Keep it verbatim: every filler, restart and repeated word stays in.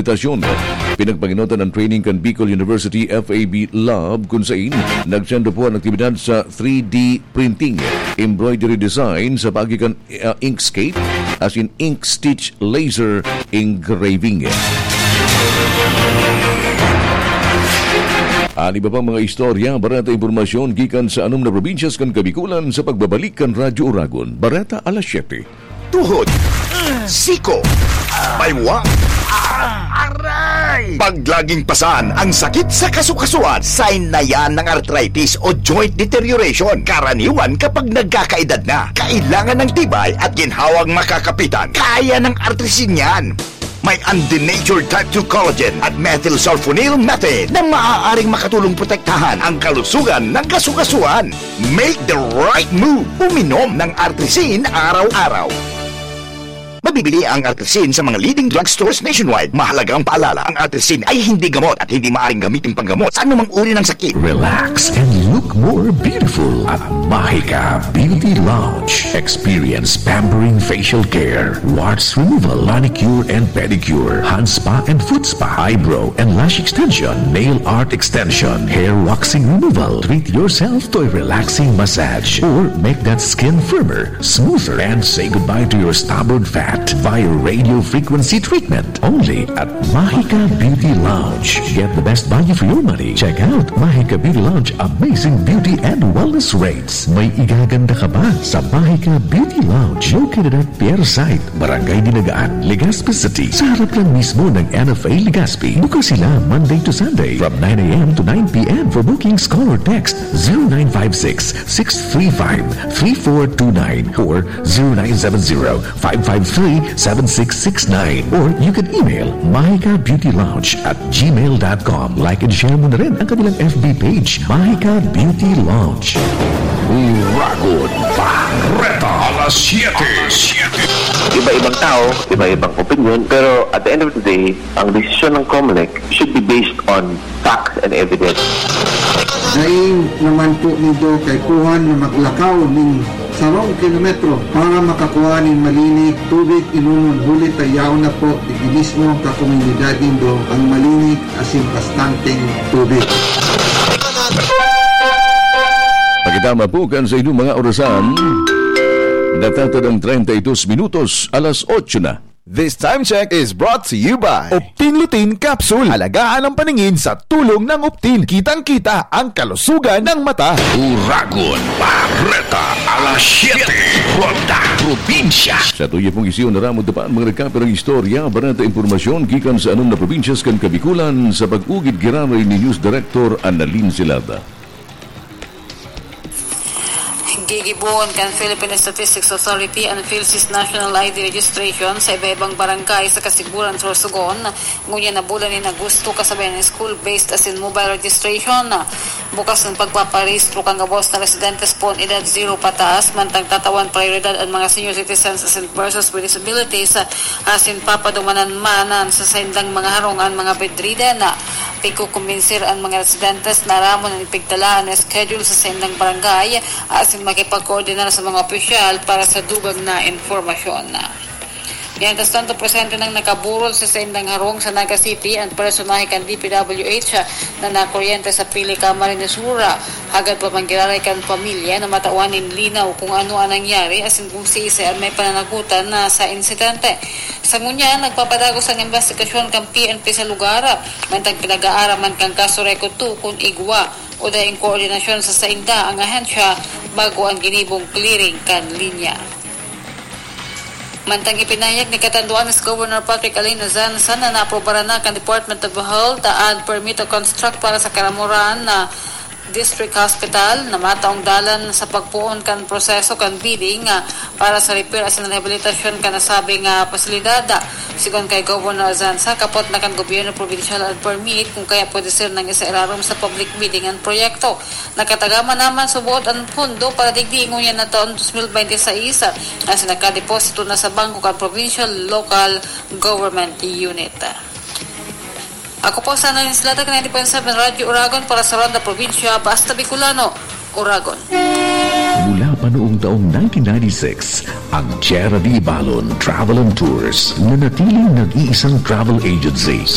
estasyon. Pinagpangenotan an training kan Bicol University F A B Lab, kun sain nagsendo po an aktibidad sa three D printing, embroidery design sa paagi kan, ah, inkscape, asin ink stitch laser engraving. An iba pang mga istorya, bareta, impormasyon gikan sa anom na probinsyas kan Kabikulan sa pagbabalik kan Radyo Uragon, bareta alas siyete. Tuhod, siko, baywa, aray! Pag laging pasan ang sakit sa kasukasuan, sign na yan ng arthritis o joint deterioration. Karaniwan kapag nagkakaedad na, kailangan ng tibay at ginhawang makakapitan. Kaya ng Artrisin yan. May undenatured type two collagen at methylsulfonyl methane na maaaring makatulong protektahan ang kalusugan ng kasukasuan. Make the right move. Uminom ng Artrisin araw-araw. Mabibili ang Artrisin sa mga leading drugstores nationwide. Mahalagang paalala, ang Artrisin ay hindi gamot at hindi maaaring gamitin panggamot sa anumang uri ng sakit. Relax and look more beautiful at Mahika Beauty Lounge. Experience pampering facial care, warts removal, manicure and pedicure, hand spa and foot spa, eyebrow and lash extension, nail art extension, hair waxing removal. Treat yourself to a relaxing massage or make that skin firmer, smoother, and say goodbye to your stubborn fat via radio frequency treatment. Only at Mahika Beauty Lounge. Get the best value for your money. Check out Mahika Beauty Lounge Amazing Beauty and Wellness Rates. May igaganda ka ba sa Mahika Beauty Lounge? Located at Pier Site, Barangay Dinagaan, Legazpi City, sa harap lang mismo ng N F A Legazpi. Bukas sila Monday to Sunday from nine a m to nine p m. For bookings, call or text zero nine five six, six three five, three four two nine or zero nine seven zero, five five three, seven six six nine. Or you can email mahika beauty lounge at gmail dot com. Like and share mo na rin ang kanilang F B page, Mahika Beauty Lounge. Uragon Bareta, alas siyete. Iba-ibang tao, iba-ibang opinion, pero at the end of the day, ang desisyon ng Comelec should be based on facts and evidence. Dai naman po nindo kaipuhan na maglakaw nin sarong kilometro para makakua nin malinig tubig inomon, huli ta yaon na po digdi mismo kan komunidad nindo ang malinig asin bastanteng tubig. Pakitama po kan sa inyong mga orasan. Natatad ang treinta y dos minutos, alas otso na. This time check is brought to you by Optin Lutein Capsule. Alagaan ang paningin sa tulong ng Optin. Kitang-kita ang kalusugan ng mata. Uragon Bareta, alas siyete, Ronda Probinsya. Sa tuya pong isiyo na ramod pa ang mga nagkapirang istorya, bareta, impormasyon gikan sa anom na probinsyas kan Kabikulan sa pag-ugid giraray ni News Director Annalyn Silada. Gigibohon kan Philippine Statistics Authority an PhilSys National I D Registration sa iba-ibang barangay sa Casiguran, Sorsogon, ngunyan na bulan nin Agosto, kasabay an school-based asin mobile registration. Bukas an pagpaparehistro kan gabos na residentes poon edad zero pataas, mantang tatawan prioridad an mga senior citizens asin persons with disabilities, asin papadumanan man an sa saindang mga harong an mga bedridden. Pigkukumbinsir an mga residentes na aramon an ipigtala na schedule sa saindang barangay asin makipagkoordinar sa mga opisyal para sa dugang na impormasyon. Mientras tanto, presente nang nakaburol sa saindang harong sa Naga City an personahe kan D P W H na nakuryente sa Pili, Camarines Sur. Hagad pa man giraray kan pamilya na matawan nin linaw kung ano an nangyari asin kung siisay an may pananagutan na sa insidente. Sa ngunyan, nagpapadagos ang imbestigasyon kan P N P sa lugar, mantang pinag-aaraman kan kaso Reco two kun igwa o daing koordinasyon sa sainda ang ahensya bago ang ginibong clearing kan linya. Mantang ipinahayag ni Catanduanes Governor Patrick Aleino Zanza na naaprobaran na kan Department of Health an permit to construct para sa Caramoran na District Hospital na mataong dalan sa pagpoon kan proseso kan bidding, ah, para sa repair asin rehabilitasyon kan nasabing, ah, pasilidad. Sigon kay Governor Zanza, kapot na kan gobyerno probinsyal an permit, kun kaya pwede ser nang isairarom sa public bidding an proyekto. Nakatagama naman suboot an pondo para digdi ngunyan na taon dos mil bente seis, ah, asin nakadeposito na sa bangko kan provincial local government unit. Ako po sana ni Slata kan ninety point seven Radyo Uragon para sa Ronda Probinsya, Basta Bicolano, Uragon. Mula pa noong taong nineteen ninety-six, ang Tierra de Ibalon Travel and Tours nanatiling nag-iisang travel agency